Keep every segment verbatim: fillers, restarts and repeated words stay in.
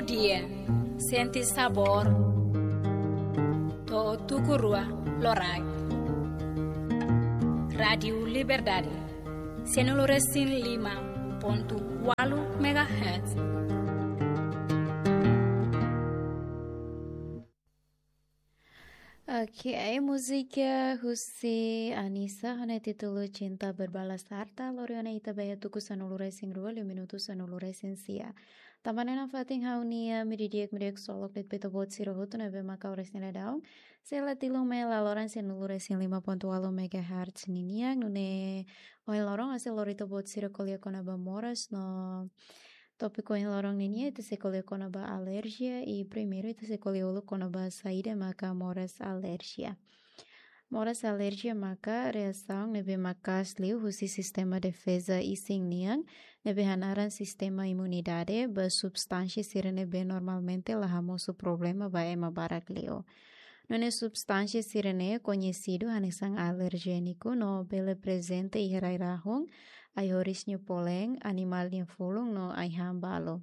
Dia, sente sabór. To'o tuku rua loraik. Rádiu Liberdade, sanulu resin lima pontu ualu megahertz. Oke, múzika husi Anisa ho nia títulu Cinta Berbalas Harta, lori ona ita ba iha tuku sanulu resin rua, liu minutu sanulu resin sia. Tanba ne'e nafatin ha'u-nia imi di'ak, imi di'ak ksolok de'it ba ita-boot sira hotu ne'ebé maka oras ne'e daudaun sei la tilun mai iha laloran sanulu resin lima pontu ualu megahertz ninian, nune'e ohin loron ha'u sei lori ita-boot sira ko'alia kona-ba moras no tópiku ohin loron ninian ita sei ko'alia kona-ba alerjia, i primeiru ita sei ko'alia uluk kona-ba saida maka moras alerjia. Moras alerjia maka reasaun ne'ebé maka'as liu husi sistema defeza isin nian, ne'ebé hanaran sistema imunidade, ba substánsia sira ne'ebé normalmente la hamosu problema ba ema barak liu. Nune'e substánsia sira-ne'e koñesidu hanesan alerjéniku no bele prezente iha rai-rahun, ai-horis nia polén, animál nia fulun no ai-han balu.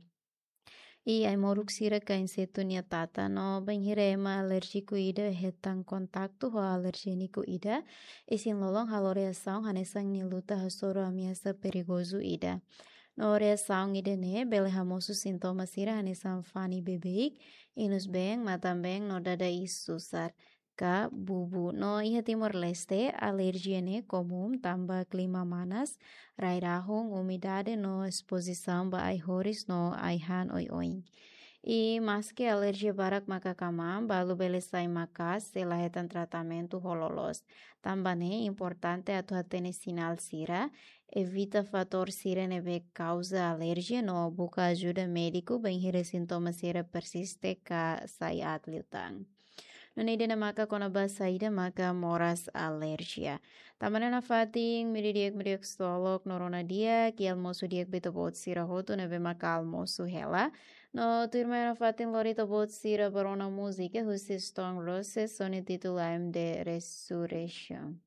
I ai-moruk sira ka insetu nia tata no bainhira ema alérjiku ida hetan kontaktu ho alerjéniku ida, isin-lolon halo reasaun hanesan nia luta hasoru ameasa perigozu ida. No reasaun ida-ne'e bele hamosu sintoma sira hanesan fani beibeik, inus-been, matan-been no dada iis susar ka bubu. No iha Timor-Leste, alerjia ne'e komún tanba klima manas, rai-rahun, umidade no espozisaun ba ai-horis no ai-han oioin. I maski alerjia barak maka kmaan, balu bele sai maka'as se la hetan tratamentu ho loloos. Tanba ne'e importante atu hatene sinál sira, evita fatór sira ne'ebé kauza alerjia no buka ajuda médiku bainhira sintoma sira persiste ka sai aat liután. Nune'e ida-ne'e maka kona-ba saida maka moras alerjia. Tanba ne'e nafatin imi di'ak, imi di'ak ksolok, no rona di'ak, i almosu di'ak ba ita-boot sira hotu ne'ebé maka almosu hela. No tuirmai nafatin lori ita-boot sira ba rona múzika husi Stone Roses ho nia títulu I'm the Resurrection.